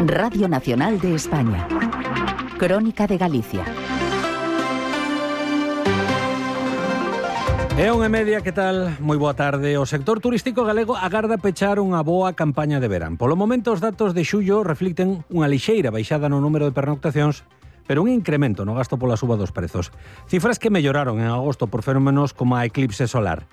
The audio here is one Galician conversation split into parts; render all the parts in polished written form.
Radio Nacional de España. Crónica de Galicia. É 1:30, que tal? Moi boa tarde. O sector turístico galego agarda pechar unha boa campaña de verán. Polo momento, os datos de xullo reflicten unha lixeira baixada no número de pernoctacións, pero un incremento no gasto pola suba dos prezos. Cifras que melloraron en agosto por fenómenos como a eclipse solar.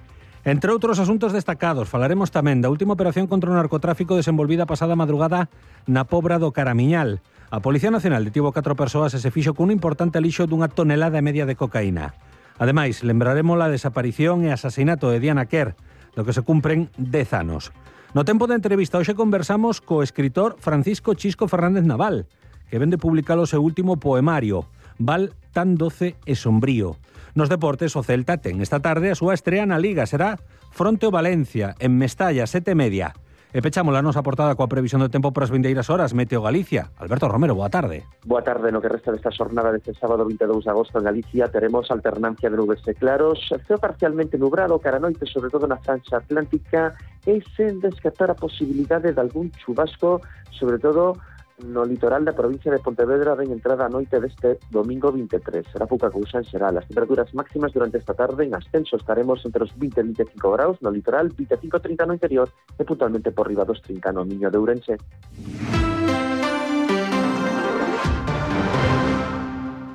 Entre outros asuntos destacados, falaremos tamén da última operación contra o narcotráfico desenvolvida pasada madrugada na Pobra do Caramiñal. A Policía Nacional detivo 4 persoas e se fixo cun importante alixo dunha tonelada e media de cocaína. Ademais, lembraremos a desaparición e asasinato de Diana Quer, do que se cumpren 10 anos. No tempo de entrevista, hoxe conversamos co escritor Francisco Chisco Fernández Naval, que vende publicar o seu último poemario, Val tan doce e sombrío. Nos deportes, o Celta ten esta tarde a súa estrea na Liga. Será fronte ao Valencia, en Mestalla, 7:30. E pechamos a nosa portada coa previsión do tempo para as vindeiras horas. Meteo Galicia. Alberto Romero, boa tarde. Boa tarde. No que resta desta xornada deste sábado 22 de agosto en Galicia teremos alternancia de nubes e claros, ceo parcialmente nublado cara a noite, sobre todo na franxa atlántica, e sen descartar a posibilidade de algún chubasco, sobre todo no litoral da provincia de Pontevedra, ben entrada a noite deste domingo 23. Será pouca cousa en xeral. As temperaturas máximas durante esta tarde en ascenso estaremos entre os 20 e 25 graus no litoral, 25-30 no interior e puntualmente por riba dos 30 no Miño de Ourense.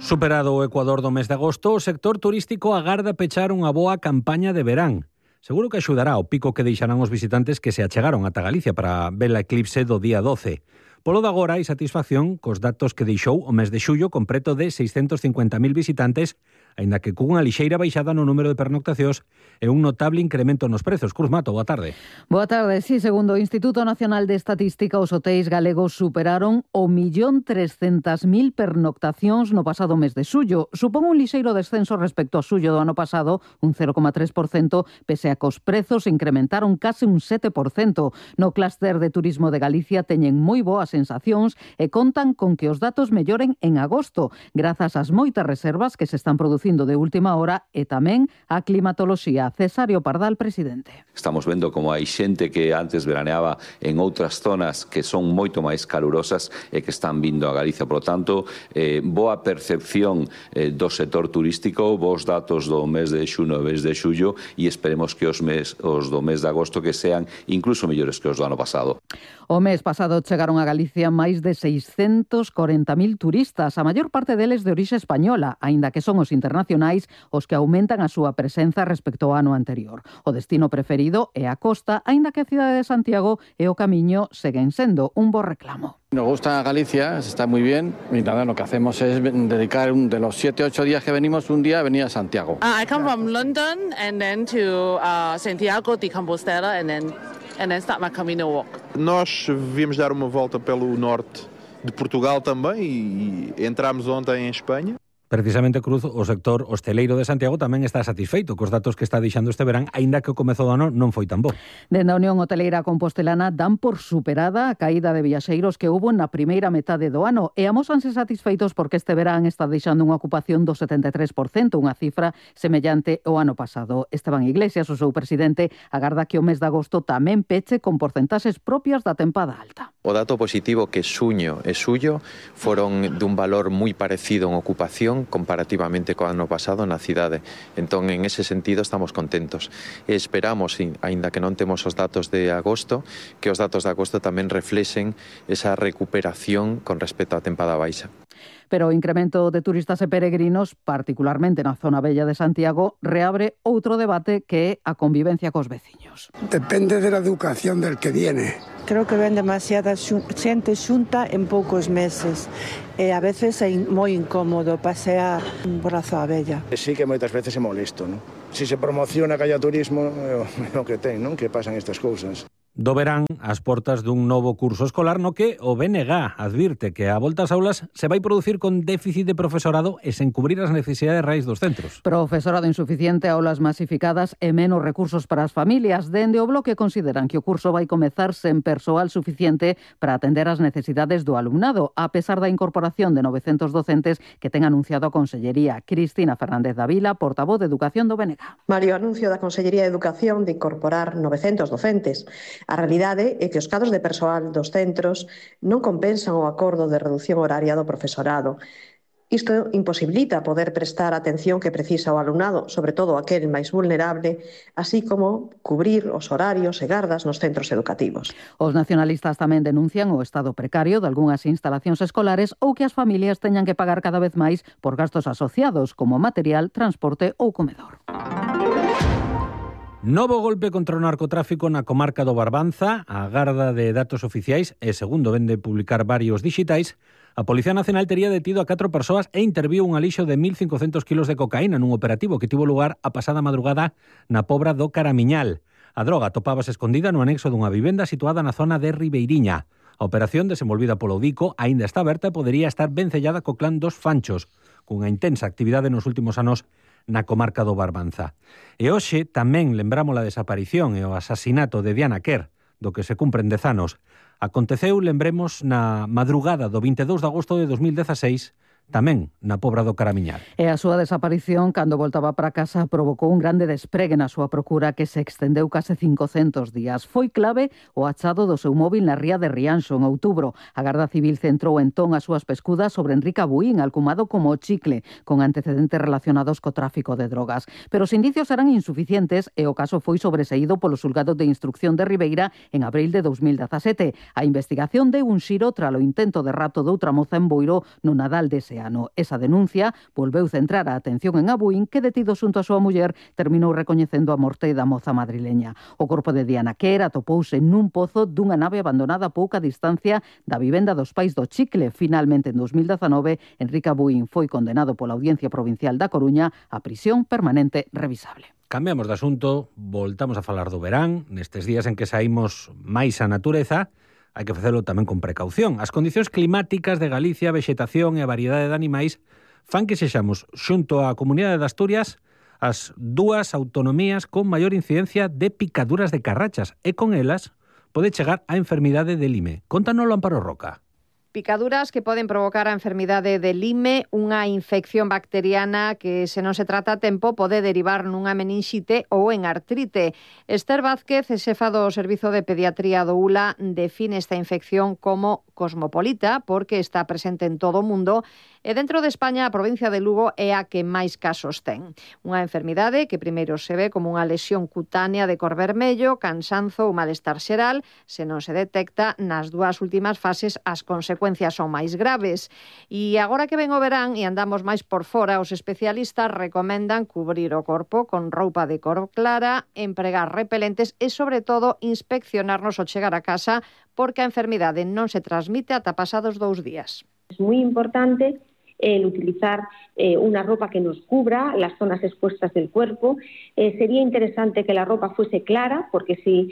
Superado o Ecuador do mes de agosto, o sector turístico agarda pechar unha boa campaña de verán. Seguro que axudará ao pico que deixarán os visitantes que se achegaron ata Galicia para ver a eclipse do día 12. Polo de agora hai satisfacción cos datos que deixou o mes de xullo con preto de 650.000 visitantes, aínda que cunha lixeira baixada no número de pernoctacións e un notable incremento nos prezos. Cruz Mato, boa tarde. Boa tarde. Sí, segundo o Instituto Nacional de Estatística, os hotéis galegos superaron o 1.300.000 pernoctacións no pasado mes de xullo. Supón un lixeiro descenso respecto a xullo do ano pasado, un 0,3%, pese a que os prezos incrementaron case un 7%. No clúster de turismo de Galicia teñen moi boas sensacións e contan con que os datos melloren en agosto, grazas ás moitas reservas que se están producindo de última hora e tamén a climatoloxía. Cesario Pardal, presidente. Estamos vendo como hai xente que antes veraneaba en outras zonas que son moito máis calurosas e que están vindo a Galicia. Por lo tanto, boa percepción do sector turístico, bons datos do mes de xuno e mes de xullo, e esperemos que os do mes de agosto que sean incluso mellores que os do ano pasado. O mes pasado chegaron a Galicia máis de 640.000 turistas, a maior parte deles de orixe española, aínda que son os internacionais os que aumentan a súa presenza respecto ao ano anterior. O destino preferido é a costa, aínda que a cidade de Santiago e o Camiño seguen sendo un bo reclamo. Nos gusta Galicia, está muy bien, y nada, lo que hacemos es dedicar de los 7-8 días que venimos, un día a venir a Santiago. I come from London and then to Santiago de Compostela and then start my Camino walk. Nós viemos dar uma volta pelo norte de Portugal também e entramos ontem em Espanha. Precisamente, Cruz, o sector hosteleiro de Santiago tamén está satisfeito cos datos que está deixando este verán, aínda que o comezo do ano non foi tan bo. Dende a Unión Hoteleira Compostelana dan por superada a caída de viaxeiros que houbo na primeira metade do ano e amósanse satisfeitos porque este verán está deixando unha ocupación do 73%, unha cifra semellante ao ano pasado. Esteban Iglesias, o seu presidente, agarda que o mes de agosto tamén peche con porcentaxes propias da tempada alta. O dato positivo que xuño e xullo foron dun valor moi parecido en ocupación comparativamente co ano pasado na cidade. Entón, en ese sentido, estamos contentos. E esperamos, aínda que non temos os datos de agosto, que os datos de agosto tamén reflexen esa recuperación con respecto á tempada baixa. Pero o incremento de turistas e peregrinos, particularmente na zona bella de Santiago, reabre outro debate que é a convivencia cos veciños. Depende de la educación del que viene. Creo que ven demasiada xente xunta en poucos meses e a veces é moi incómodo pasear por a Zoa Bella. Sí que moitas veces é molesto, non? Si se promociona que haya turismo, é o que ten, non? Que pasan estas cousas. Do verán ás portas dun novo curso escolar no que o BNG advirte que a volta ás aulas se vai producir con déficit de profesorado e sen cubrir as necesidades reais dos centros. Profesorado insuficiente, aulas masificadas e menos recursos para as familias. Dende o Bloque consideran que o curso vai comezar sen persoal suficiente para atender as necesidades do alumnado, a pesar da incorporación de 900 docentes que ten anunciado a Consellería. Cristina Fernández Davila, portavoz de Educación do BNG. Mario, anuncio da Consellería de Educación de incorporar 900 docentes. A realidade é que os cadros de persoal dos centros non compensan o acordo de reducción horaria do profesorado. Isto imposibilita poder prestar a atención que precisa o alumnado, sobre todo aquel máis vulnerable, así como cubrir os horarios e gardas nos centros educativos. Os nacionalistas tamén denuncian o estado precario de algunhas instalacións escolares ou que as familias teñan que pagar cada vez máis por gastos asociados, como material, transporte ou comedor. Novo golpe contra o narcotráfico na comarca do Barbanza. A Garda de Datos Oficiais, e segundo vende publicar varios dixitais, a Policía Nacional tería detido a 4 persoas e interviu un alixo de 1.500 kilos de cocaína nun operativo que tivo lugar a pasada madrugada na Pobra do Caramiñal. A droga topábase escondida no anexo dunha vivenda situada na zona de Ribeiriña. A operación, desenvolvida polo Dico, aínda está aberta e podería estar vencellada co clan dos Fanchos, cunha intensa actividade nos últimos anos na comarca do Barbanza. E hoxe tamén lembramos a desaparición e o asasinato de Diana Quer, do que se cumpren 10 anos. Aconteceu, lembremos, na madrugada do 22 de agosto de 2016, tamén na Pobra do Caramiñal. E a súa desaparición, cando voltaba para casa, provocou un grande despregue na súa procura que se extendeu case 500 días. Foi clave o achado do seu móvil na ría de Rianxo en outubro. A Garda Civil centrou entón as súas pescudas sobre Enrique Abuín, alcumado como Chicle, con antecedentes relacionados co tráfico de drogas. Pero os indicios eran insuficientes e o caso foi sobreseído polo xulgado de instrucción de Ribeira en abril de 2017. A investigación deu un xiro tralo intento de rapto doutra moza en Boiro no Nadal dese ano. Esa denuncia volveu centrar a atención en Abuín, que detido xunto a súa muller terminou recoñecendo a morte da moza madrileña. O corpo de Diana Quer atopouse nun pozo dunha nave abandonada a pouca distancia da vivenda dos pais do Chicle. Finalmente, en 2019, Enrique Abuín foi condenado pola Audiencia Provincial da Coruña a prisión permanente revisable. Cambiamos de asunto, voltamos a falar do verán. Nestes días en que saímos máis á natureza, hai que facelo tamén con precaución. As condicións climáticas de Galicia, a vexetación e a variedade de animais fan que sexamos, xunto á Comunidade de Asturias, as dúas autonomías con maior incidencia de picaduras de carrachas, e con elas pode chegar a enfermidade de Lyme. Contánoslo, Amparo Roca. Picaduras que poden provocar a enfermidade de Lyme, unha infección bacteriana que, se non se trata a tempo, pode derivar nunha meninxite ou en artrite. Esther Vázquez, xefa do Servizo de Pediatría do ULA, define esta infección como cosmopolita porque está presente en todo o mundo e dentro de España a provincia de Lugo é a que máis casos ten. Unha enfermidade que primeiro se ve como unha lesión cutánea de cor vermello, cansanzo ou malestar xeral. Se non se detecta nas dúas últimas fases, as consecuencias son máis graves. E agora que ven o verán e andamos máis por fora, os especialistas recomendan cubrir o corpo con roupa de cor clara, empregar repelentes e, sobre todo, inspeccionarnos ao chegar a casa, porque a enfermidade non se transmite ata pasados 2 días. Es muy importante el utilizar una ropa que nos cubra las zonas expuestas del cuerpo. Sería interesante que la ropa fuese clara, porque si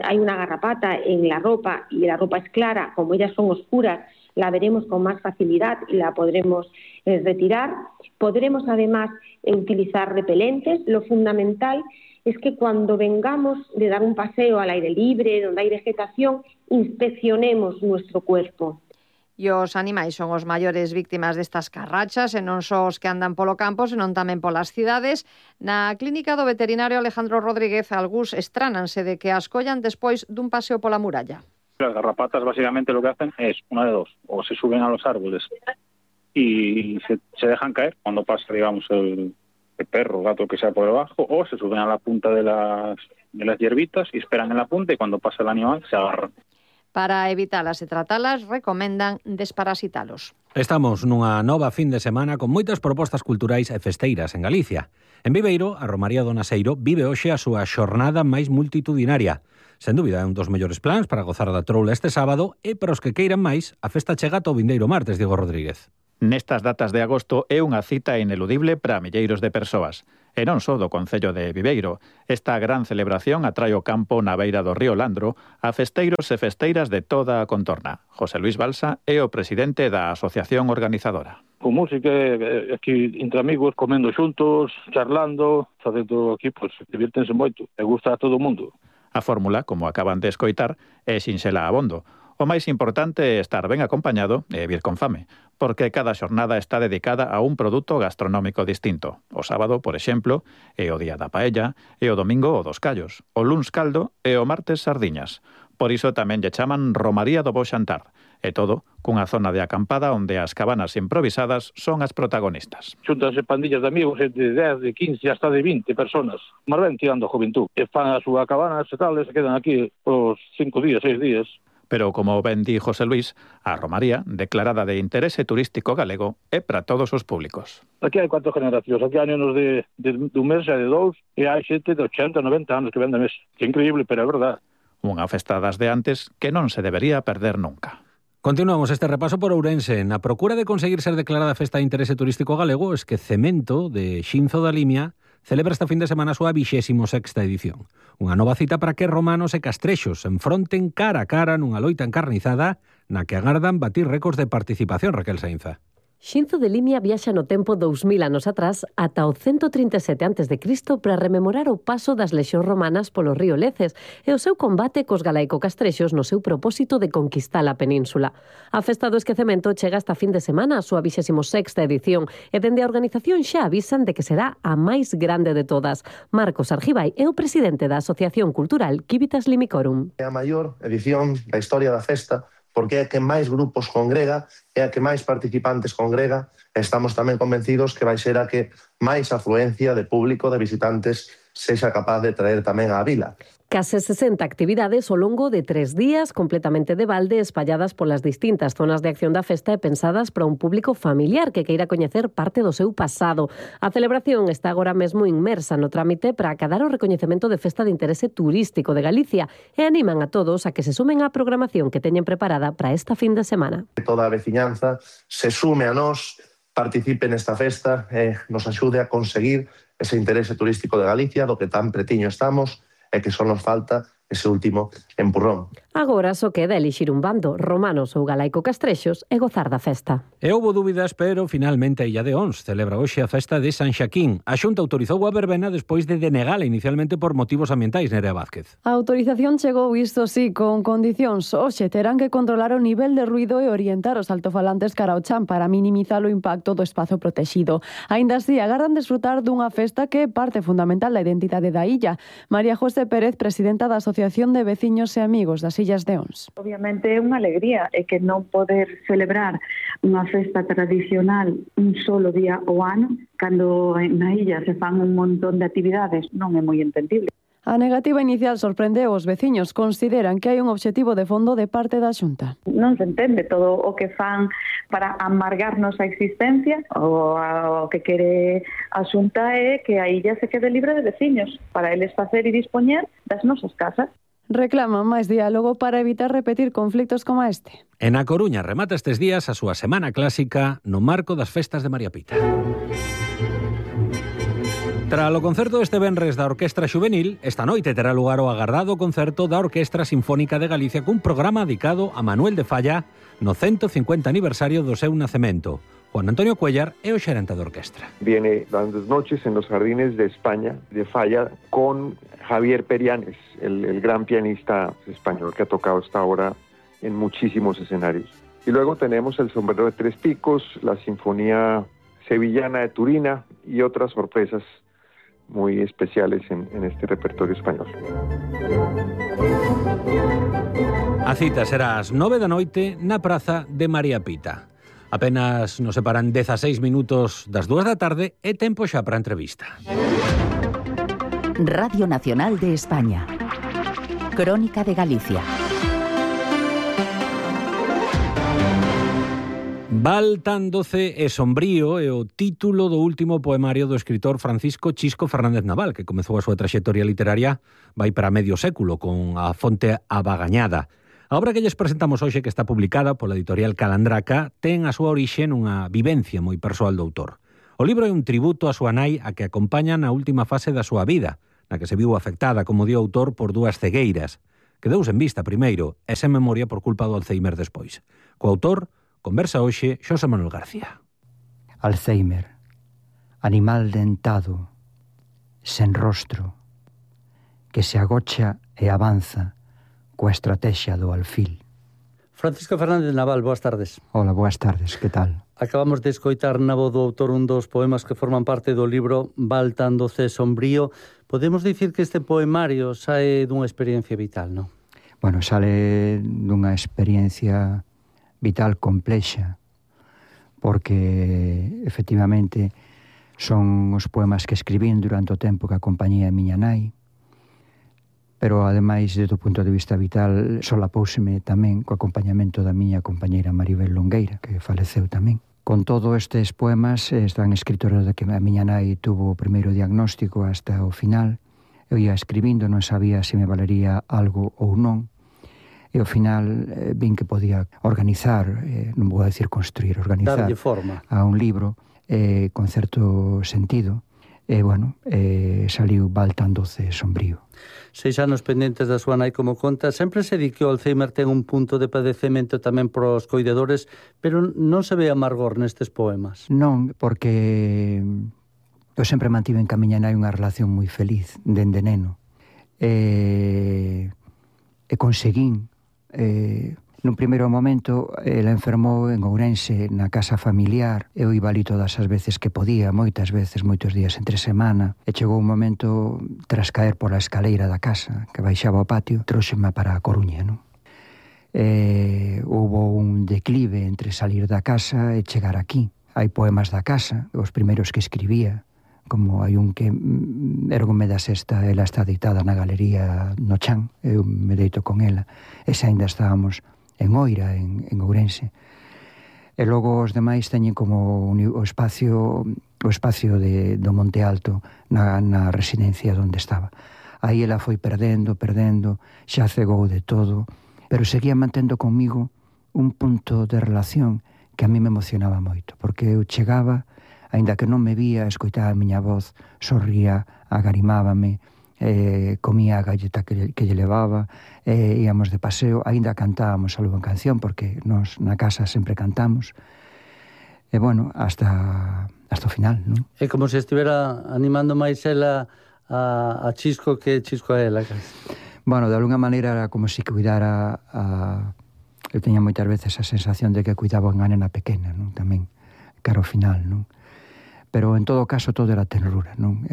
hay una garrapata en la ropa y la ropa es clara, como ellas son oscuras, la veremos con más facilidad y la podremos retirar. Podremos además utilizar repelentes. Lo fundamental es que cuando vengamos de dar un paseo al aire libre, donde hay vegetación, inspeccionemos nuestro cuerpo. E os animais son os maiores víctimas destas carrachas, e non só os que andan polo campo, senón tamén polas cidades. Na clínica do veterinario Alejandro Rodríguez, algúns estránanse de que as collan despois dun paseo pola muralla. Las garrapatas básicamente lo que hacen es una de dos: o se suben a los árboles y se dejan caer cuando pasa, digamos, el perro o gato que sea por debajo, o se suben a la punta de las hierbitas y esperan en la punta, y cuando pasa el animal se agarran. Para evitalas e tratalas, recomendan desparasitalos. Estamos nunha nova fin de semana con moitas propostas culturais e festeiras en Galicia. En Viveiro, a Romaría do Naseiro vive hoxe a súa xornada máis multitudinaria. Sen dúbida, é un dos mellores plans para gozar da troula este sábado, e para os que queiran máis, a festa chega ata o vindeiro martes, Diego Rodríguez. Nestas datas de agosto é unha cita ineludible para milleiros de persoas. E non só do concello de Viveiro. Esta gran celebración atrae o campo na beira do río Landro a festeiros e festeiras de toda a contorna. José Luis Balsa é o presidente da asociación organizadora. Con música, aquí entre amigos, comendo xuntos, charlando, facendo aquí, pois, divírtense moito. E gusta a todo o mundo. A fórmula, como acaban de escoitar, é sinxela abondo. O máis importante é estar ben acompañado e vir con fame, porque cada xornada está dedicada a un produto gastronómico distinto. O sábado, por exemplo, é o día da paella, e o domingo o dos callos, o luns caldo e o martes sardiñas. Por iso tamén lle chaman Romaría do Bo Xantar, e todo cunha zona de acampada onde as cabanas improvisadas son as protagonistas. Xuntanse pandillas de amigos de 10, de 15, hasta de 20 personas, máis ben tirando a juventud, e fan a súa cabana e tal, e se quedan aquí os 5 días, 6 días. Pero, como ben di José Luis, a Romaría, declarada de interese turístico galego, é para todos os públicos. Aquí hai 4 generacións, aquí hai nenos de un mes e de 2, e hai xente de 80, 90 anos que ven de mes. Que increíble, pero é verdad. Unha festa das de antes que non se debería perder nunca. Continuamos este repaso por Ourense. Na procura de conseguir ser declarada festa de interese turístico galego, es que Cemento, de Xinzo da Limia, celebra esta fin de semana a súa 26ª edición. Unha nova cita para que romanos e castrexos se enfronten cara a cara nunha loita encarnizada na que agardan batir récords de participación, Raquel Sainza. Xinzo de Limia viaxa no tempo 2000 anos atrás ata o 137 a.C. para rememorar o paso das lexións romanas polo río Leces e o seu combate cos galaico-castrexos no seu propósito de conquistar a península. A festa do esquecemento chega esta fin de semana a súa 26ª edición e dende a organización xa avisan de que será a máis grande de todas. Marcos Argibay é o presidente da Asociación Cultural Civitas Limicorum. É a maior edición da historia da festa porque é a que máis grupos congrega, é a que máis participantes congrega, e estamos tamén convencidos que vai ser a que máis afluencia de público, de visitantes, sexa capaz de traer tamén á vila. Case 60 actividades ao longo de 3 días, completamente de balde, espalladas polas distintas zonas de acción da festa e pensadas para un público familiar que queira coñecer parte do seu pasado. A celebración está agora mesmo inmersa no trámite para acadar o recoñecemento de festa de interese turístico de Galicia e animan a todos a que se sumen á programación que teñen preparada para esta fin de semana. Toda a veciñanza se sume a nós, participe nesta festa e nos axude a conseguir ese interese turístico de Galicia, do que tan pretiño estamos, e que só nos falta ese último empurrón. Agora só queda elixir un bando, romanos ou galaico-castrexos, e gozar da festa. E houbo dúbidas, pero finalmente a Illa de Ons celebra hoxe a festa de San Xaquín. A Xunta autorizou a verbena despois de denegala inicialmente por motivos ambientais, Nerea Vázquez. A autorización chegou, isto sí, con condicións. Hoxe terán que controlar o nivel de ruido e orientar os altofalantes cara ao chan para minimizar o impacto do espazo protegido. Aínda así, agardan desfrutar dunha festa que é parte fundamental da identidade da illa. María José Pérez, presidenta da Asociación de Veciños e Amigos das Illas de Ons. Obviamente é unha alegría é que non poder celebrar unha festa tradicional un solo día ao ano, cando na illa se fan un montón de actividades, non é moi entendible. A negativa inicial sorprendeu os veciños. Consideran que hai un obxectivo de fondo de parte da Xunta. Non se entende todo o que fan para amargarnos a existencia. O que quere a Xunta é que a illa se quede libre de veciños para eles facer e dispoñer das nosas casas. Reclaman máis diálogo para evitar repetir conflictos como este. En A Coruña remata estes días a súa semana clásica no marco das festas de María Pita. Tras o concerto este venres da Orquestra Xuvenil, esta noite terá lugar o agardado concerto da Orquestra Sinfónica de Galicia cun programa dedicado a Manuel de Falla no 150 aniversario do seu nacemento. Juan Antonio Cuellar é o xerente da orquestra. Viene dando noches en los jardines de España, de Falla, con Javier Perianes, el gran pianista español que ha tocado hasta ahora en muchísimos escenarios. Y luego tenemos el Sombrero de Tres Picos, la Sinfonía Sevillana de Turina y otras sorpresas muy especiales en este repertorio español. A cita será ás 9 da noite na Praza de María Pita. Apenas nos separan 16 minutos das 2 da tarde e tempo xa para a entrevista. Radio Nacional de España. Crónica de Galicia. Val tan doce e sombrío é o título do último poemario do escritor Francisco Chisco Fernández Naval, que comezou a súa traxectoria literaria vai para medio século con A Fonte Abagañada. A obra que lles presentamos hoxe, que está publicada pola editorial Calandraca, ten a súa orixe nunha vivencia moi persoal do autor. O libro é un tributo a súa nai a que acompaña na última fase da súa vida, na que se viu afectada, como di o autor, por dúas cegueiras. Quedouse en vista primeiro e sen memoria por culpa do Alzheimer despois. Co autor conversa hoxe Xosé Manuel García. Alzheimer, animal dentado, sen rostro, que se agocha e avanza coa estrategia do alfil. Francisco Fernández Naval, boas tardes. Hola, boas tardes, que tal? Acabamos de escoitar na voz do autor un dos poemas que forman parte do libro Val tan doce e sombrío. Podemos dicir que este poemario sae dunha experiencia vital, non? Bueno, sale dunha experiencia vital complexa, porque efectivamente son os poemas que escribín durante o tempo que acompañei a miña nai, pero ademais, desde o punto de vista vital, solapóuseme tamén co acompañamento da miña compañeira Maribel Longueira, que faleceu tamén. Con todo, estes poemas están escritos desde que a miña nai tuvo o primeiro diagnóstico hasta o final. Eu ia escribindo, non sabía se me valería algo ou non, e ao final vin que podía organizar, non vou a decir construir, organizar darlle forma a un libro con certo sentido. E, bueno, saliu Val tan doce e sombrío. 6 anos pendentes da súa nai, como conta. Sempre se di que o Alzheimer ten un punto de padecemento tamén para os coidadores, pero non se ve amargor nestes poemas. Non, porque eu sempre mantive en que a miña nai unha relación moi feliz, dende neno. E conseguín, nun primeiro momento, ela enfermou en Ourense, na casa familiar. Eu iba ali todas as veces que podía, moitas veces, moitos días entre semana. E chegou un momento, tras caer pola escaleira da casa, que baixaba ao patio, trouxema para a Coruña, non? Houbo un declive entre salir da casa e chegar aquí. Hai poemas da casa, os primeiros que escribía, como hai un que Érgome da sexta, ela está deitada na galería no chan, eu me deito con ela. Ese aínda estábamos en Oira, en Ourense. E logo os demais teñen como o espacio do Monte Alto na residencia onde estaba. Aí ela foi perdendo, xa cegou de todo, pero seguía mantendo comigo un punto de relación que a mí me emocionaba moito, porque eu chegaba, aínda que non me vía, escoitaba a miña voz, sorría, agarimábame, comía a galleta que lle levaba, íamos de paseo, aínda cantábamos algo en canción, porque nós na casa sempre cantamos, e bueno, hasta o final, non? É como se estivera animando máis ela a Chisco que Chisco a ela. Bueno, de alguna maneira era como se cuidara eu teña moitas veces a sensación de que cuidaba unha nena pequena, non? Tamén, cara ao final, non? Pero en todo caso todo era tenrura, non?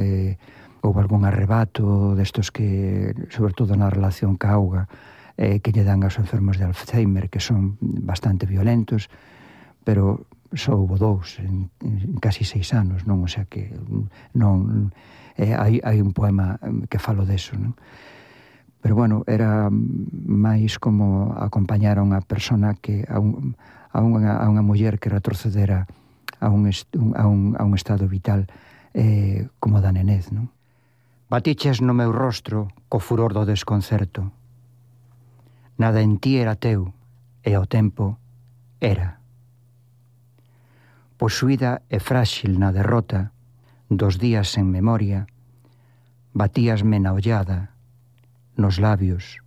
Houve algún arrebato destos que, sobre todo na relación ca auga, que lle dan aos enfermos de Alzheimer, que son bastante violentos, pero só houve 2 en casi 6 anos, non? O sea que non hai un poema que falo deso, non? Pero bueno, era máis como acompañar a unha persona que a unha muller que retrocedera a un estado vital como da nenez, non? Batiches no meu rostro co furor do desconcerto. Nada en ti era teu, e ao tempo era. Posuída e fráxil na derrota dos días sen memoria, batíasme na ollada, nos labios,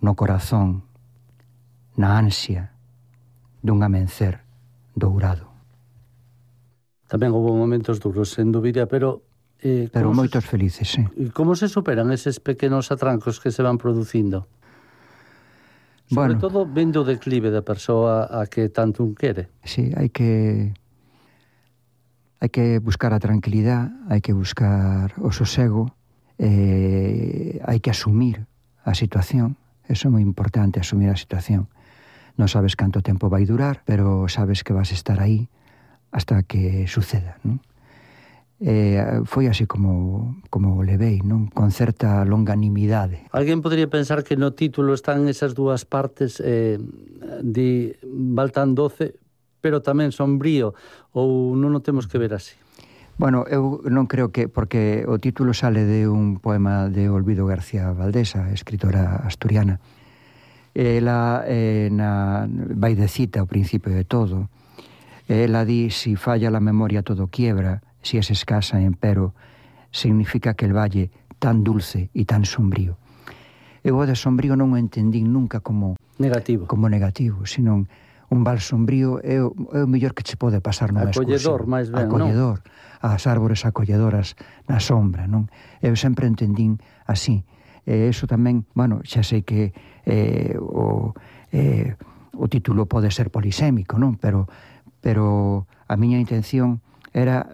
no corazón, na ansia dun amencer dourado. Tamén houve momentos duros, sen dúbida, pero moitos felices, sí. E como se superan eses pequenos atrancos que se van producindo? Sobre todo vendo o declive da persoa a que tanto un quere. Sí, hai que buscar a tranquilidade, hai que buscar o sosego, hai que asumir a situación. Eso é moi importante, asumir a situación. Non sabes canto tempo vai durar, pero sabes que vas estar aí hasta que suceda, non? Foi así como levei, non? Con certa longanimidade. Alguén podría pensar que no título están esas dúas partes de Val tan doce, pero tamén sombrío, ou non o temos que ver así? Bueno, eu non creo que, porque o título sale de un poema de Olvido García Valdesa, escritora asturiana. Ela vai de cita ao principio de todo. Ela di, si falla la memoria todo quiebra, si es escasa empero, significa que el valle tan dulce e tan sombrío. Eu o de sombrío non o entendín nunca como negativo, senón un val sombrío é o mellor que che pode pasar nunha excursión. Acolledor, máis ben, acolledor, non? As árbores acolledoras na sombra, non? Eu sempre entendín así. Eso tamén, bueno, xa sei que o título pode ser polisémico, non? Pero a miña intención era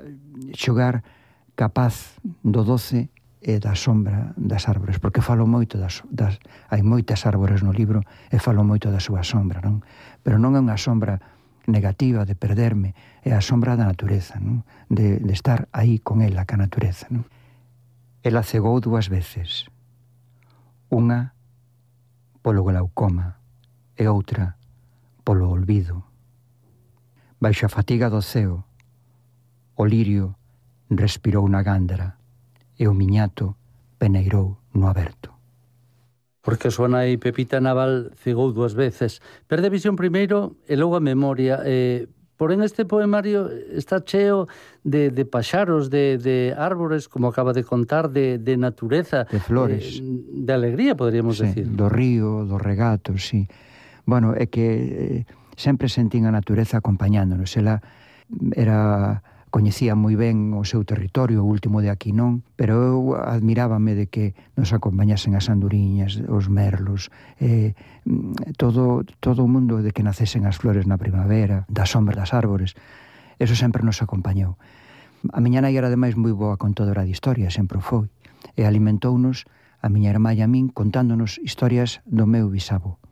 xogar capaz do doce e da sombra das árbores, porque falo moito hai moitas árbores no libro e falo moito da súa sombra, non? Pero non é unha sombra negativa de perderme, é a sombra da natureza, non? De estar aí con ela, ca natureza, non? Ela cegou 2 veces, unha polo glaucoma e outra polo olvido. Baixo a fatiga do ceo, o lirio respirou na gándara e o miñato peneirou no aberto. Porque a súa nai Pepita Naval cegou 2 veces. Perde a visión primeiro e logo a memoria. Porén, este poemario está cheo de paxaros, de árbores, como acaba de contar, de natureza. De flores. De alegría, podríamos decir. Do río, do regato, sí. Bueno, é que sempre sentín a natureza acompañándonos. Ela coñecía moi ben o seu territorio, o último de aquí non, pero eu admirábame de que nos acompañasen as anduriñas, os merlos, todo o mundo de que nacesen as flores na primavera, das sombras das árbores. Eso sempre nos acompañou. A miña nai era ademais moi boa contadora de historias, sempre foi, e alimentounos, a miña irmá e a min, contándonos historias do meu bisavó.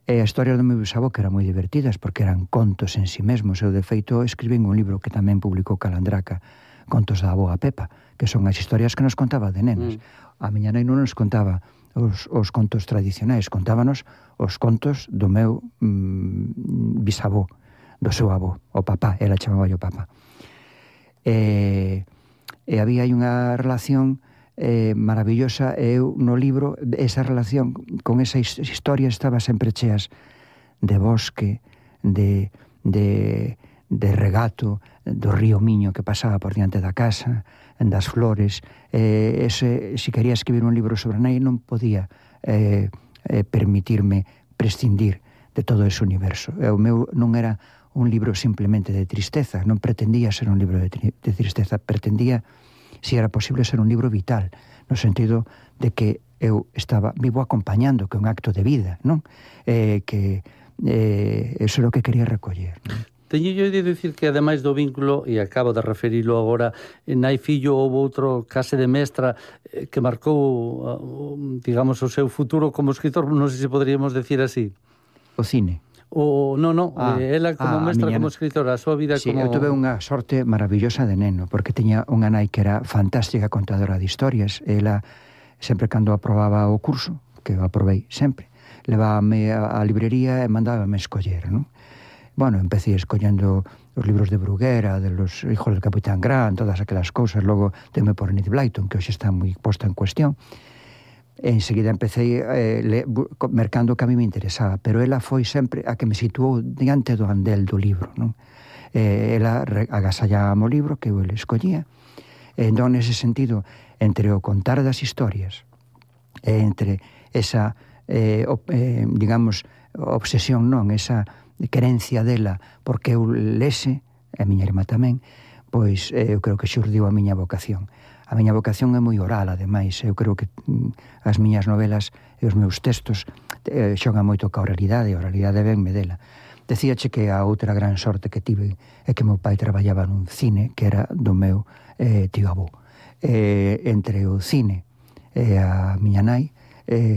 E as historias do meu bisavó que eran moi divertidas porque eran contos en si mesmos. Eu, de feito, escribín un libro que tamén publicou Calandraca, Contos da Avoa Pepa, que son as historias que nos contaba de nenas. A miña nai non nos contaba os contos tradicionais, contábanos os contos do meu bisavó, do seu avó, o papá, ela chamaba o papá. E había aí unha relación maravillosa, e eu no libro esa relación con esa historia estaba sempre cheas de bosque, de regato, do río Miño que pasaba por diante da casa, das flores. Si quería escribir un libro sobre a nai non podía permitirme prescindir de todo ese universo. O meu non era un libro simplemente de tristeza, non pretendía ser un libro de tristeza, pretendía, si era posible, ser un libro vital, no sentido de que eu estaba vivo acompañando, que é un acto de vida, non? Que eso é o que quería recoller, non? Teño yo de dicir que, ademais do vínculo, e acabo de referilo agora, nai fillo houve outro case de mestra que marcou, digamos, o seu futuro como escritor, non sei se poderíamos decir así. O cine. Ela como mestra, como escritora, a súa vida como... Eu tuve unha sorte maravillosa de neno, porque tiña unha nai que era fantástica contadora de historias. Ela, sempre cando aprobaba o curso, que eu aprobei sempre, levábame á librería e mandábame escoller, non? Bueno, empecé escollendo os libros de Bruguera, de los hijos del Capitán Grant, todas aquelas cousas. Logo teme por Enid Blyton, que hoxe está moi posta en cuestión. E enseguida empecé mercando o que a mí me interesaba, pero ela foi sempre a que me situou diante do andel do libro, non? Ela agasallaba o libro que eu escollía. Entón, nese sentido, entre o contar das historias e entre esa, digamos, obsesión, non, esa querencia dela porque eu lese, a miña irmá tamén, pois eu creo que xurdiu a miña vocación. A miña vocación é moi oral, ademais. Eu creo que as miñas novelas e os meus textos xogan moito ca oralidade, a oralidade venme dela. Decíache que a outra gran sorte que tive é que meu pai traballaba nun cine que era do meu tío avó. Entre o cine e a miña nai,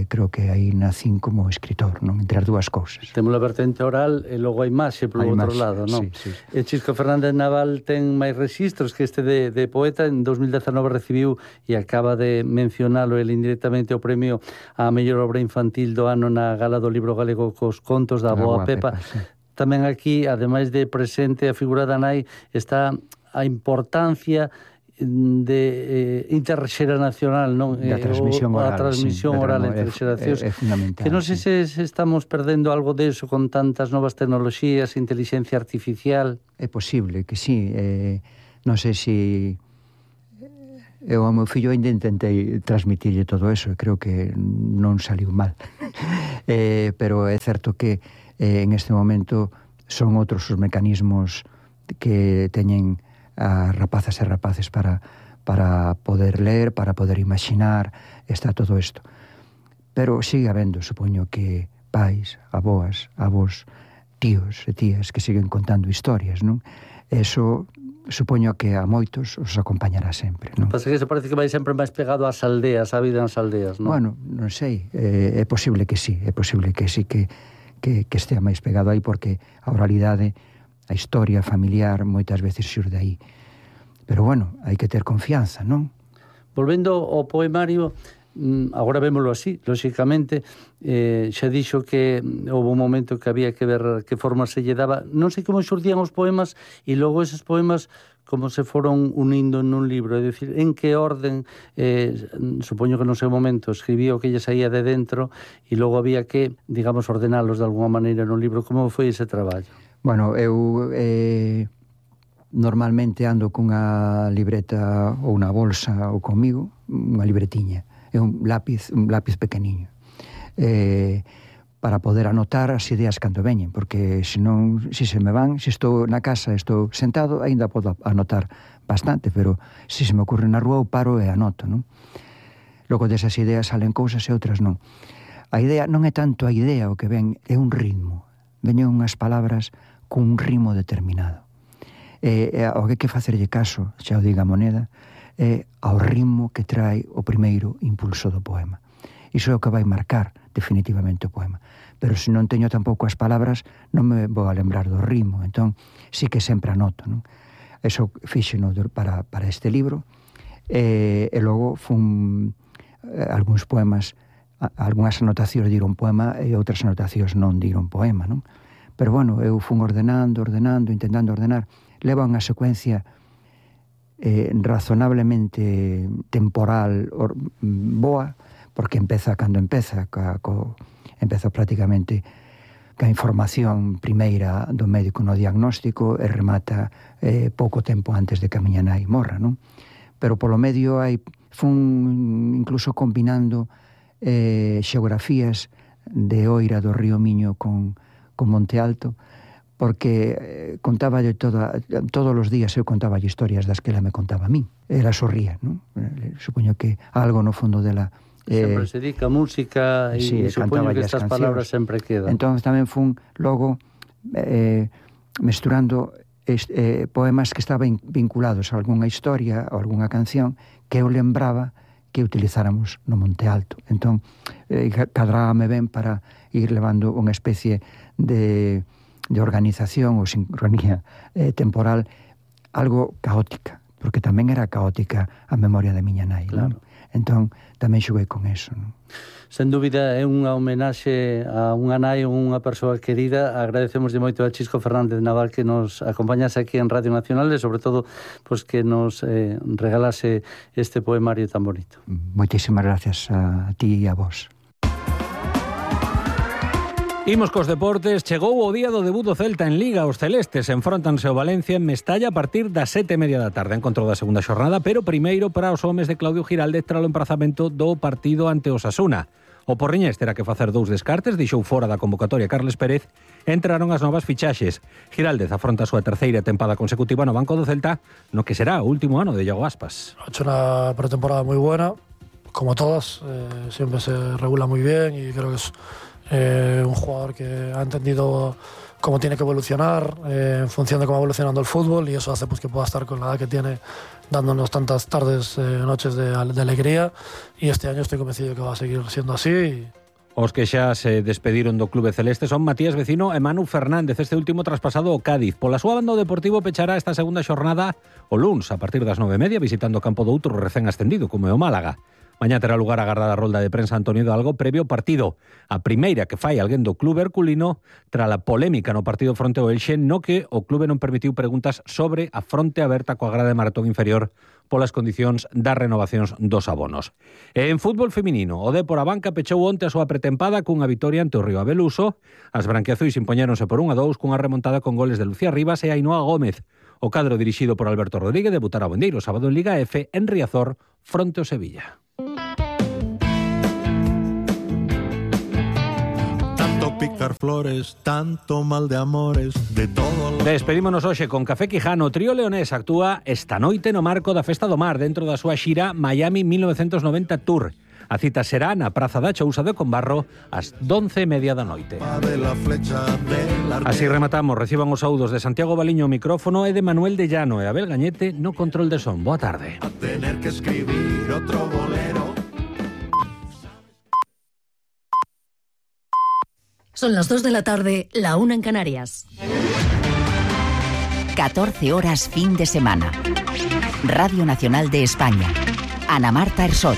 creo que aí nacín como escritor, non? Entre as dúas cousas. Temos a vertente oral e logo a imaxe polo outro lado, non? Sí. E Chisco Fernández Naval ten máis rexistros que este de poeta. En 2019 recibiu, e acaba de mencionalo ele indirectamente, o premio á mellor obra infantil do ano na Gala do Libro Galego cos Contos da Avoa Pepa. Sí. Tamén aquí, ademais de presente a figura da nai, está a importancia de interxeracional, non? Da transmisión oral. A transmisión oral entre xeracións. É fundamental. Que non sei se estamos perdendo algo deso con tantas novas tecnoloxías, inteligencia artificial. É posible que sí. Non sei se... Eu ao meu fillo ainda intentei transmitirlle todo eso e creo que non saliu mal. Pero é certo que en este momento son outros os mecanismos que teñen a rapazas e rapaces para poder ler, para poder imaginar, está todo isto. Pero sigue habendo, supoño que pais, aboas, avós, tíos e tías que siguen contando historias, non? Eso supoño que a moitos os acompañará sempre, non? Pasa que se parece que vai sempre máis pegado ás aldeas, á vida nas aldeas, non? Bueno, non sei, é posible que sí, que estea máis pegado aí, porque a oralidade, a historia familiar moitas veces xurde aí. Pero bueno, hai que ter confianza, non? Volvendo ao poemario, agora vémolo así, lóxicamente, xa dixo que houve un momento que había que ver que forma se lle daba. Non sei como xurdían os poemas e logo eses poemas como se foron unindo nun libro, é dicir, en que orden, supoño que no seu momento escribía o que lle saía de dentro e logo había que, digamos, ordenalos de alguma maneira nun libro. Como foi ese traballo? Bueno, eu normalmente ando cunha libreta ou unha bolsa ou comigo, unha libretiña, é un lápiz pequeniño, para poder anotar as ideas cando veñen, porque senón, se me van, se estou na casa, estou sentado, aínda podo anotar bastante, pero se me ocurre na rúa, eu paro e anoto, non? Logo desas ideas salen cousas e outras non. A idea non é tanto a idea o que ven, é un ritmo. Veñen unhas palabras cun ritmo determinado. O que hai que facerlle caso, xa o diga Moneda, é ao ritmo que trae o primeiro impulso do poema. Iso é o que vai marcar definitivamente o poema. Pero se non teño tampouco as palabras, non me vou a lembrar do ritmo. Entón, sí que sempre anoto, non? Eso fíxeno para este libro. E logo fun algúns poemas, algunhas anotacións de ir un poema e outras anotacións non de ir un poema, non? Pero bueno, eu fun ordenando, intentando ordenar. Leva unha secuencia razonablemente temporal boa, porque empeza cando empeza, empeza prácticamente ca información primeira do médico no diagnóstico e remata pouco tempo antes de que a miña nai morra, non? Pero polo medio fun incluso combinando xeografías de Oira do Río Miño con Monte Alto, porque contáballe todos os días eu contáballe historias das que ela me contaba a mí. Ela sorría, non? Supoño que algo no fondo dela... Sempre se dedica a música e sí, supoño que estas palabras sempre quedan. Entón tamén fun logo mesturando poemas que estaban vinculados a algunha historia ou algunha canción que eu lembraba que utilizáramos no Monte Alto. Entón, cadrábame ben para ir levando unha especie de organización ou sincronía temporal algo caótica, porque tamén era caótica a memoria de miña nai, claro. Non? Entón, tamén xuguei con eso, non? Sen dúbida, é unha homenaxe a unha nai ou unha persoa querida. Agradecemos de moito a Chisco Fernández Naval que nos acompañase aquí en Radio Nacional e, sobre todo, pues, que nos regalase este poemario tan bonito. Moitísimas gracias a ti e a vos. Imos cos deportes. Chegou o día do debut do Celta en Liga. Os celestes enfrontanse ao Valencia en Mestalla a partir das 7:30 da tarde, encontro da segunda xornada, pero primeiro para os homes de Claudio Giraldez tras o emprazamento do partido ante o Osasuna. O Porriñés terá que facer 2 descartes, deixou fora da convocatoria Carles Pérez, entraron as novas fichaxes. Giraldez afronta a súa terceira tempada consecutiva no banco do Celta, no que será o último ano de Iago Aspas. Ha hecho una pretemporada muy buena, como todas, siempre se regula muy bien y creo que es un jugador que ha entendido cómo tiene que evolucionar en función de cómo va evolucionando el fútbol, y eso hace pues que pueda estar con la edad que tiene dándonos tantas tardes, noches de alegría, y este año estoy convencido que va a seguir siendo así. Os que xa se despediron do Clube Celeste son Matías Vecino e Manu Fernández, este último traspasado ao Cádiz. Pola súa banda o Deportivo pechará esta segunda xornada o luns a partir das 9:30 visitando o campo do outro recén ascendido como é o Málaga. Mañá terá lugar a agardada rolda de prensa Antonio Hidalgo previo ao partido. A primeira que fai alguén do clube herculino tras a polémica no partido fronte ao Elxe, no que o clube non permitiu preguntas sobre a fronte aberta coa grada de maratón inferior polas condicións das renovacións dos abonos. E en fútbol feminino, o Dépor a banca pechou onte a súa pretempada cunha vitoria ante o Río Abeluso. As branquiazuis impoñéronse por 1-2 cunha remontada con goles de Lucía Rivas e Ainhoa Gómez. O cadro dirixido por Alberto Rodríguez debutará o vindeiro sábado en Liga F en Riazor fronte ao Sevilla. Picar flores, tanto mal de amores, de todo. Despedímonos hoxe con Café Quijano. O trío leonés actúa esta noite no marco da Festa do Mar dentro da súa xira Miami 1990 Tour. A cita será na Praza da Chousa de Combarro ás 11:30 da noite. Así rematamos. Reciban os saúdos de Santiago Baliño o micrófono e de Manuel de Llano e Abel Gañete no control de son. Boa tarde. A tener que escribir otro bolero. Son las 2 de la tarde, la 1 en Canarias. 14 horas fin de semana. Radio Nacional de España. Ana Marta Ersoch.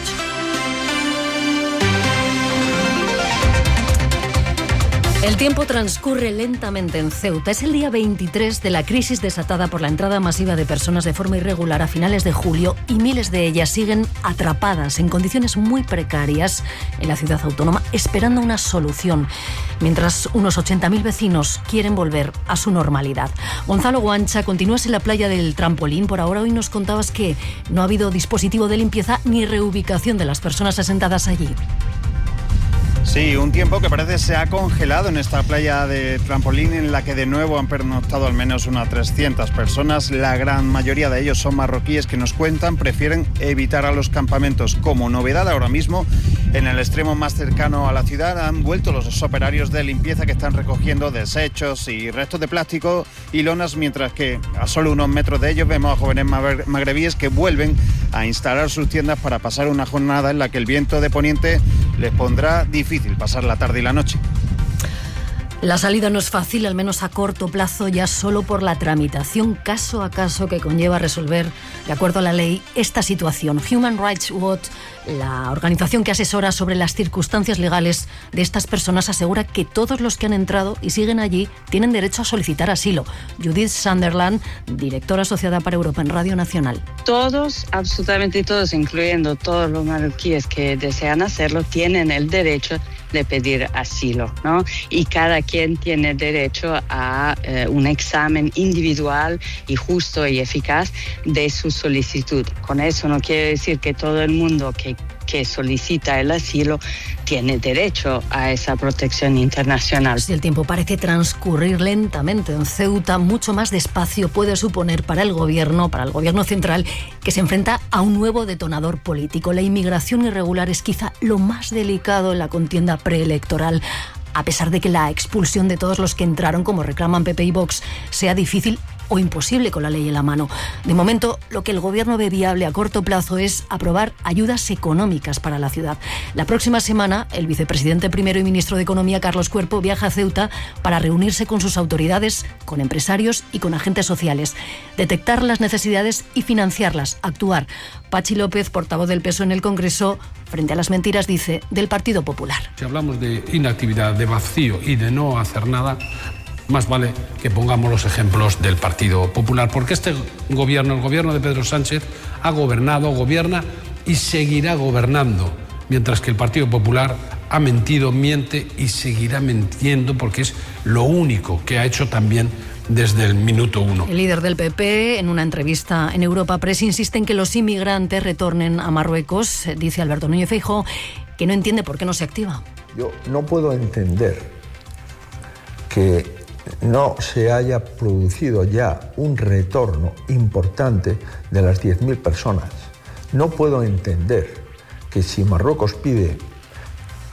El tiempo transcurre lentamente en Ceuta. Es el día 23 de la crisis desatada por la entrada masiva de personas de forma irregular a finales de julio y miles de ellas siguen atrapadas en condiciones muy precarias en la ciudad autónoma esperando una solución, mientras unos 80.000 vecinos quieren volver a su normalidad. Gonzalo Guancha, continúas en la playa del Trampolín. Por ahora hoy nos contabas que no ha habido dispositivo de limpieza ni reubicación de las personas asentadas allí. Sí, un tiempo que parece se ha congelado en esta playa de Trampolín, en la que de nuevo han pernoctado al menos unas 300 personas. La gran mayoría de ellos son marroquíes que nos cuentan prefieren evitar a los campamentos. Como novedad ahora mismo, en el extremo más cercano a la ciudad han vuelto los operarios de limpieza que están recogiendo desechos y restos de plástico y lonas, mientras que a solo unos metros de ellos vemos a jóvenes magrebíes que vuelven a instalar sus tiendas para pasar una jornada en la que el viento de poniente les pondrá difícil pasar la tarde y la noche. La salida no es fácil, al menos a corto plazo, ya solo por la tramitación caso a caso que conlleva resolver, de acuerdo a la ley, esta situación. Human Rights Watch, la organización que asesora sobre las circunstancias legales de estas personas, asegura que todos los que han entrado y siguen allí tienen derecho a solicitar asilo. Judith Sunderland, directora asociada para Europa en Radio Nacional. Todos, absolutamente todos, incluyendo todos los marroquíes que desean hacerlo, tienen el derecho de pedir asilo, ¿no? Y cada quien tiene derecho a un examen individual y justo y eficaz de su solicitud. Con eso no quiere decir que todo el mundo que solicita el asilo tiene derecho a esa protección internacional. Si el tiempo parece transcurrir lentamente en Ceuta, mucho más despacio puede suponer para el gobierno central, que se enfrenta a un nuevo detonador político. La inmigración irregular es quizá lo más delicado en la contienda preelectoral. A pesar de que la expulsión de todos los que entraron, como reclaman PP y Vox, sea difícil o imposible con la ley en la mano. De momento, lo que el gobierno ve viable a corto plazo es aprobar ayudas económicas para la ciudad. La próxima semana, el vicepresidente primero y ministro de Economía, Carlos Cuerpo, viaja a Ceuta para reunirse con sus autoridades, con empresarios y con agentes sociales, detectar las necesidades y financiarlas, actuar. Pachi López, portavoz del PSOE en el Congreso, frente a las mentiras, dice, del Partido Popular. Si hablamos de inactividad, de vacío y de no hacer nada, más vale que pongamos los ejemplos del Partido Popular, porque este gobierno, el gobierno de Pedro Sánchez, ha gobernado, gobierna y seguirá gobernando, mientras que el Partido Popular ha mentido, miente y seguirá mintiendo, porque es lo único que ha hecho también desde el minuto uno. El líder del PP, en una entrevista en Europa Press, insiste en que los inmigrantes retornen a Marruecos. Dice Alberto Núñez Feijóo que no entiende por qué no se activa. Yo no puedo entender que no se haya producido ya un retorno importante de las 10.000 personas. No puedo entender que si Marruecos pide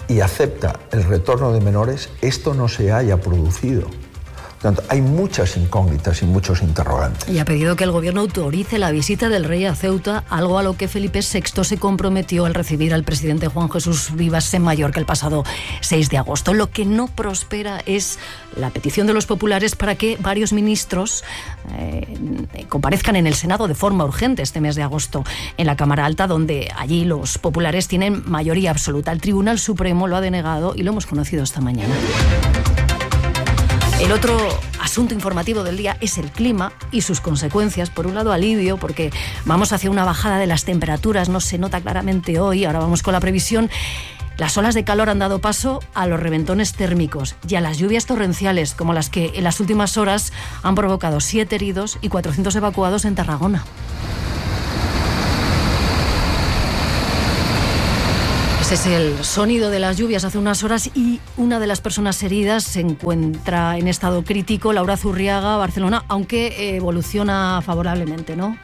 y acepta el retorno de menores, esto no se haya producido. Por tanto, hay muchas incógnitas y muchos interrogantes. Y ha pedido que el gobierno autorice la visita del rey a Ceuta, algo a lo que Felipe VI se comprometió al recibir al presidente Juan Jesús Vivas en Mallorca el pasado 6 de agosto. Lo que no prospera es la petición de los populares para que varios ministros comparezcan en el Senado de forma urgente este mes de agosto en la Cámara Alta, donde allí los populares tienen mayoría absoluta. El Tribunal Supremo lo ha denegado y lo hemos conocido esta mañana. El otro asunto informativo del día es el clima y sus consecuencias. Por un lado, alivio, porque vamos hacia una bajada de las temperaturas, no se nota claramente hoy. Ahora vamos con la previsión. Las olas de calor han dado paso a los reventones térmicos y a las lluvias torrenciales, como las que en las últimas horas han provocado 7 heridos y 400 evacuados en Tarragona. Ese es el sonido de las lluvias hace unas horas y una de las personas heridas se encuentra en estado crítico, Laura Zurriaga, Barcelona, aunque evoluciona favorablemente, ¿no?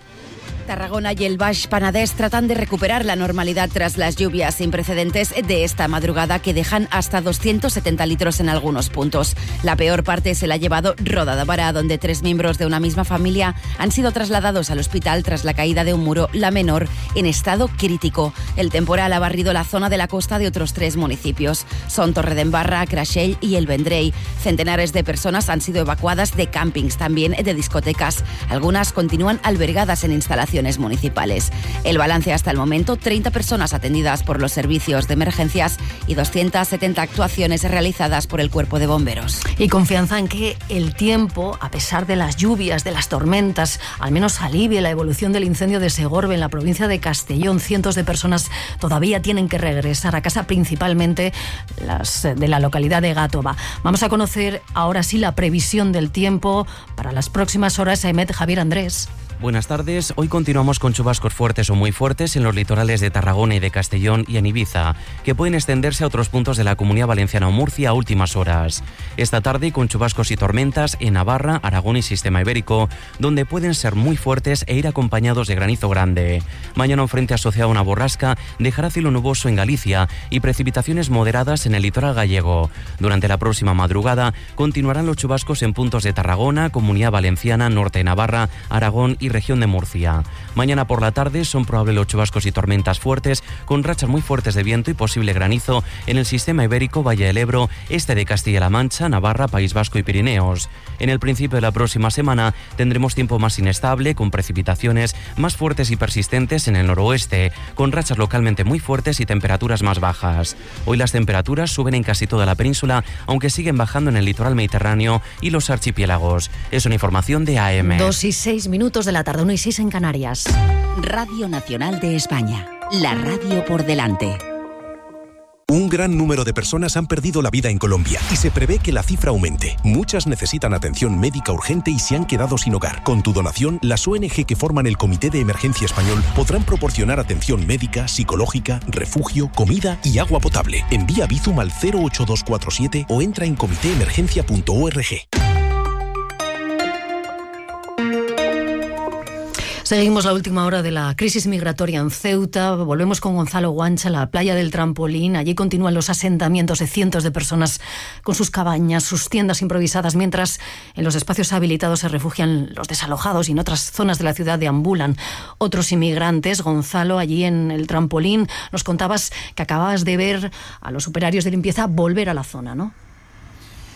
Tarragona y el Baix Penedès tratan de recuperar la normalidad tras las lluvias sin precedentes de esta madrugada que dejan hasta 270 litros en algunos puntos. La peor parte se la ha llevado Roda de Bará, donde 3 miembros de una misma familia han sido trasladados al hospital tras la caída de un muro, la menor en estado crítico. El temporal ha barrido la zona de la costa de otros 3 municipios. Son Torredembarra, Creixell y El Vendrell. Centenares de personas han sido evacuadas de campings, también de discotecas. Algunas continúan albergadas en instalaciones municipales. El balance hasta el momento: 30 personas atendidas por los servicios de emergencias y 270 actuaciones realizadas por el Cuerpo de Bomberos. Y confianza en que el tiempo, a pesar de las lluvias, de las tormentas, al menos alivie la evolución del incendio de Segorbe en la provincia de Castellón. Cientos de personas todavía tienen que regresar a casa, principalmente las de la localidad de Gátova. Vamos a conocer ahora sí la previsión del tiempo para las próximas horas. Javier Andrés. Buenas tardes. Hoy continuamos con chubascos fuertes o muy fuertes en los litorales de Tarragona y de Castellón y en Ibiza, que pueden extenderse a otros puntos de la Comunidad Valenciana o Murcia a últimas horas. Esta tarde con chubascos y tormentas en Navarra, Aragón y Sistema Ibérico, donde pueden ser muy fuertes e ir acompañados de granizo grande. Mañana un frente asociado a una borrasca dejará cielo nuboso en Galicia y precipitaciones moderadas en el litoral gallego. Durante la próxima madrugada continuarán los chubascos en puntos de Tarragona, Comunidad Valenciana, Norte de Navarra, Aragón y región de Murcia. Mañana por la tarde son probables los chubascos y tormentas fuertes, con rachas muy fuertes de viento y posible granizo en el Sistema Ibérico, Valle del Ebro, este de Castilla-La Mancha, Navarra, País Vasco y Pirineos. En el principio de la próxima semana tendremos tiempo más inestable, con precipitaciones más fuertes y persistentes en el noroeste, con rachas localmente muy fuertes y temperaturas más bajas. Hoy las temperaturas suben en casi toda la península, aunque siguen bajando en el litoral mediterráneo y los archipiélagos. Es una información de AM. 2:06 de la tarde, 1:06 en Canarias. Radio Nacional de España, la radio por delante. Un gran número de personas han perdido la vida en Colombia y se prevé que la cifra aumente. Muchas necesitan atención médica urgente y se han quedado sin hogar. Con tu donación, las ONG que forman el Comité de Emergencia Español podrán proporcionar atención médica, psicológica, refugio, comida y agua potable. Envía Bizum al 08247 o entra en comitéemergencia.org. Seguimos la última hora de la crisis migratoria en Ceuta. Volvemos con Gonzalo Guancha, la playa del Trampolín. Allí continúan los asentamientos de cientos de personas con sus cabañas, sus tiendas improvisadas, mientras en los espacios habilitados se refugian los desalojados y en otras zonas de la ciudad deambulan otros inmigrantes. Gonzalo, allí en el Trampolín, nos contabas que acababas de ver a los operarios de limpieza volver a la zona, ¿no?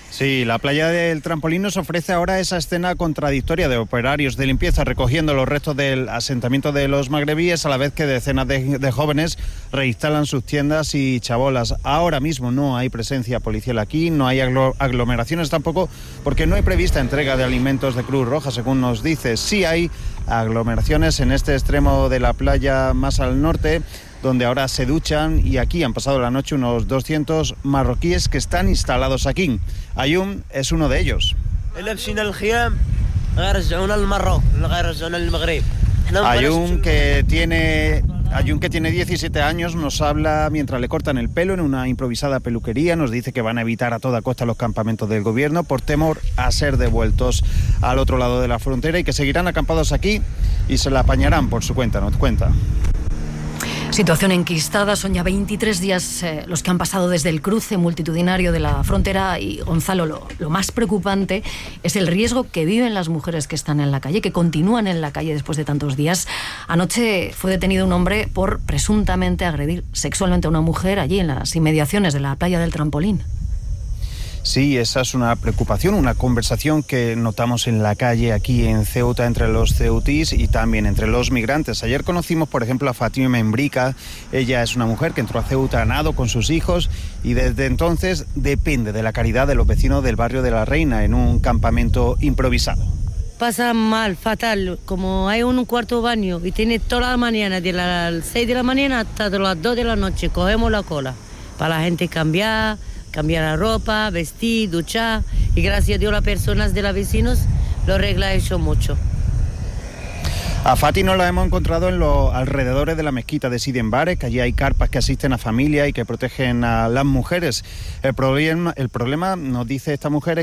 Sí, la playa del Trampolín nos ofrece ahora esa escena contradictoria de operarios de limpieza recogiendo los restos del asentamiento de los magrebíes, a la vez que decenas de jóvenes reinstalan sus tiendas y chabolas. Ahora mismo no hay presencia policial aquí, no hay aglomeraciones tampoco, porque no hay prevista entrega de alimentos de Cruz Roja, según nos dice. Sí hay aglomeraciones en este extremo de la playa más al norte, donde ahora se duchan, y aquí han pasado la noche unos 200 marroquíes que están instalados aquí. Ayum es uno de ellos. Ayum, que tiene 17 años, nos habla mientras le cortan el pelo en una improvisada peluquería. Nos dice que van a evitar a toda costa los campamentos del gobierno por temor a ser devueltos al otro lado de la frontera y que seguirán acampados aquí y se la apañarán por su cuenta, nos cuenta. Situación enquistada, son ya 23 días los que han pasado desde el cruce multitudinario de la frontera y, Gonzalo, lo más preocupante es el riesgo que viven las mujeres que están en la calle, que continúan en la calle después de tantos días. Anoche fue detenido un hombre por presuntamente agredir sexualmente a una mujer allí en las inmediaciones de la playa del Trampolín. Sí, esa es una preocupación, una conversación que notamos en la calle aquí en Ceuta entre los ceutís y también entre los migrantes. Ayer conocimos, por ejemplo, a Fátima Membrica. Ella es una mujer que entró a Ceuta a nado con sus hijos y desde entonces depende de la caridad de los vecinos del barrio de La Reina en un campamento improvisado. Pasa mal, fatal, como hay un cuarto baño y tiene toda la mañana, de las 6 de la mañana hasta las 2 de la noche, cogemos la cola para la gente cambiar la ropa, vestir, duchar, y gracias a Dios las personas de los vecinos lo arregla eso mucho. A Fati nos la hemos encontrado en los alrededores de la mezquita de Sidi Mbarek, que allí hay carpas que asisten a familias y que protegen a las mujeres. El problema, nos dice esta mujer, es